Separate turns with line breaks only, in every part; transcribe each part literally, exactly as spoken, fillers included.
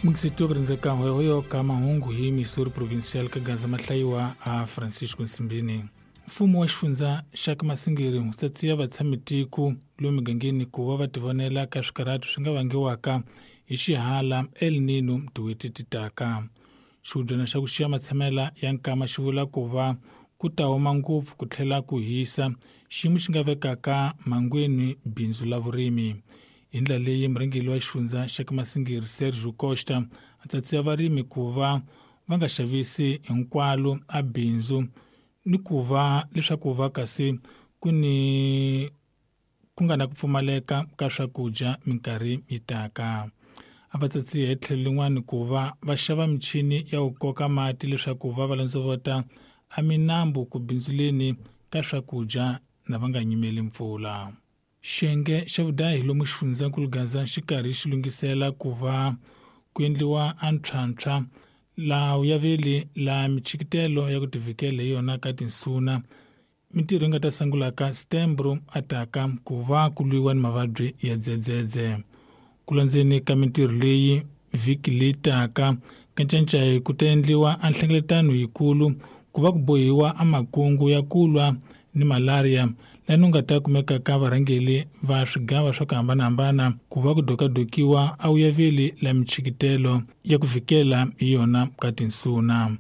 Mukisito kurinzeka hoyo ka mahungu hi Missouri Provincial ka Gaza mahlayiwa a Francisco Nsimbini. Mfumo wa xifundza xa Masingiri wu tsatsiya vatshamitiko lomu migangeni ku va va tivonela ka swikarhato swi nga vangiwaka hi xihala El Nino tin'hweti ti taka. Xihubyana xa ku xiya matshamela ya nkama xi vula ku va ku ta huma ngopfu ku tlhela ku hisa xiyimo xi nga vekaka mhangweni bindzu la vurimi. Hi ndlela leyi murhangeri wa xifundza xa Masingiri Sergio Costa a tsatsiya varimi ku va va nga xavisi hinkwalo a bindzu ni ku va leswaku va kasi ku ni ku nga na ku pfumaleka ka swakudya minkarhi yi taka. A va tsatsiya hi tlhelo lin'wana ku va va xava michini ya ku koka mati leswaku va va landzovota a minambu ku bindzuleni ka swakudya na va nga nyimeli mpfula. Xiyenge xa vudahi lomu xifundzankulu Gaza xi karhi xi lunghisela ku va ku endliwa a ntlhantlha laha ya veli la michikitelo ya ku tivikela hi yona ka tinsuna mintirho yi nga ta sungulaka Setembro ataka ku va ku lwiwa ni mavabyi ya dzedzedze. Ku landzeni ka mintirho leyi vhiki leyi taka ka Ncancai ku ta endliwa a nhlengeletano yikulu ku va ku bohiwa a makungu ya ku lwa ni malaria laha ku nga ta kumeka ka varhangeri va swigava swa ku hambanahambana ku va ku dokadokiwa a wuyaveli la michikitelo ya ku vikela hi yona ka tinsuna.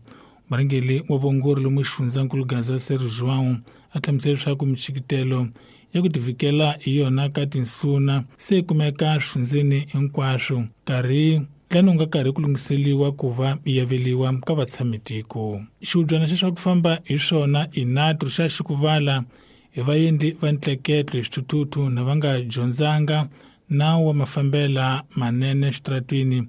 Murhangeri wa vuongori lomu xifundzankulu Gaza Sergio João a hlamusela leswaku michikitelo ya ku tivikela hi yona ka tinsuna se yi kumeka swifundzeni hinkwaswo nkarhi lani u nga karhi ku lunghiseliwa ku va yi aveliwa ka vatshamitiko. Xihubyana xa swa ku famba hi swona Inatru xa xikuvala hi vaendli va ntleketlo hi swithuthuthu na va nga dyondzanga nawu wa mafambela manene switaratwini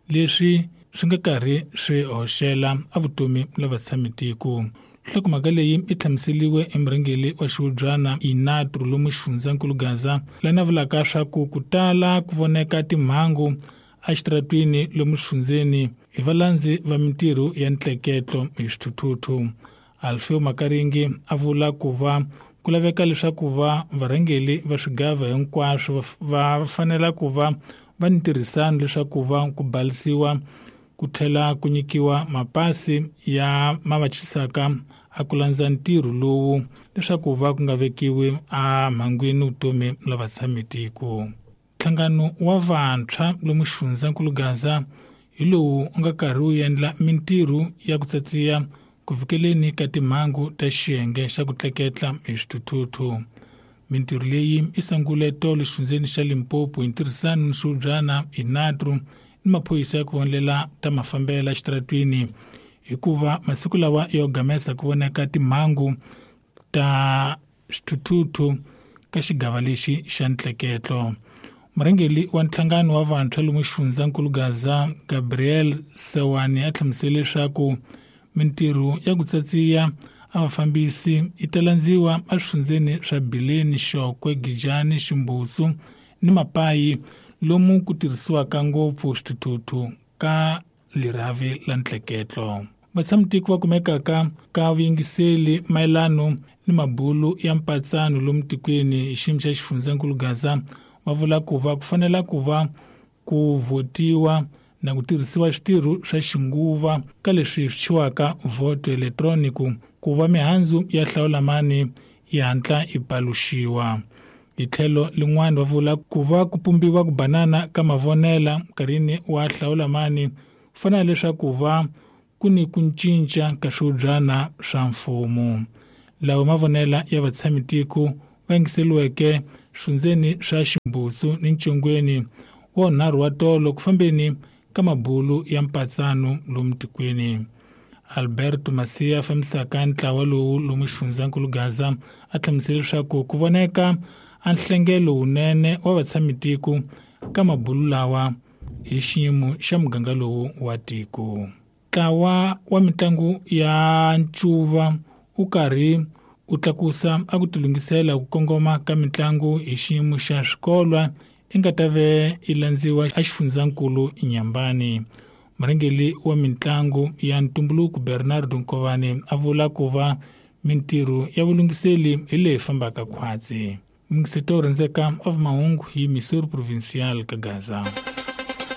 leswi swi nga karhi swi hoxela a vutomi la vatshamitiko. Nhlokomhaka leyi yi hlamuseliwe emurhangeri wa xihubyana Inatru lomu xifundzankulu Gaza lana vulaka swa ku ku tala ku voneka timhangu exitaratwini lomu xifundzeni hi valandzi va mintirho ya ntleketlo hi swithuthuthu. Alfeo Makaringi a vula ku va ku laveka leswaku va varhangeri va swigava hinkwaswo va fanela ku va va ni ntirhisano leswaku va ku balisiwa ku tlhela ku nyikiwa mapasi ya ma va chisaka a ku landza ntirho lowu leswaku va ku nga vekiwi a mhangwini vutomi la vatshamitiko. Nhlangano wa vantshwa lomu xifundzankulu Gaza hi lowu u nga karhi wu endla mintirho ya ku tsatsiya ku fikeleni ka timhangu ta xiyenge xa ku tleketla hi swithuthuthu. Mintirho leyi i sungule tolo xifundzeni xa Limpopo hi ntirhisano ni xihubyana Inatru ni maphorisa ya ku vonela ta mafambela xitaratwini hikuva masiku lawa yo gamesa ku voneka timhangu ta swithuthuthu ka xigava lexi xa ntleketlo. Murhangeri wa nhlangano wa vantshwa lomu xifundzankulu Gaza Gabriel Sewani a hlamusele leswaku mintirho ya ku tsatsiya a vafambisi yi ta landziwa eswifundzeni swa Bileni, Xokwe, Gijani, Ximbutsu ni Mapayi lomu ku tirhisiwaka ngopfu swithuthuthu ka lirhavi la ntleketlo. Vatshamitiko va kumekaka ka vuyingiseli mayelano ni mabulu ya mpatsano lomu tikweni hi xiyimo xa xifundzankulu Gaza va vula ku va ku fanela ku va ku votiwa na ku tirhisiwa switirho swa xinguva ka leswi swi thyiwaka voto elektroniki ku va mihandzu ya hlawulamani yi hatla yi paluxiwa. Hi tlhelo lin'wana va vula ku va ku pumbiwa ku banana ka mavonela nkarhini wa hlawulamani ku fanela leswaku va ku ni ku cinca ka swihubyana swa mfumo. Lawa mavonela ya vatshamitiko va yingiseliweke swifundzeni swa Ximbutsu ni Ncongweni wa nharhu wa tolo ku fambeni ka mabulu ya mpatsano lomu tikweni. Alberto Masia fambisaka ntlawa lowu lomu xifundzankulu Gaza a hlamusele leswaku ku voneka a nhlengelo wunene wa vatshamitiko ka mabulu lawa hi xiyimo xa muganga lowu wa tiko. Ntlawa wa mitlangu ya ncuva u karhi u tlakusa a ku tilunghisela ku kongoma ka mitlangu hi xiyimo xa swikolwa i nga ta ve yi landziwa exifundzankulu Nyambani. Murhangeri wa mitlangu ya ntumbuluko Bernardo Nkovani a vula ku va mintirho ya vulunghiseli hi leyi fambaka khwatsi. Mixito rhandzeka of mahungu hi Missouri Provincial ka Gaza.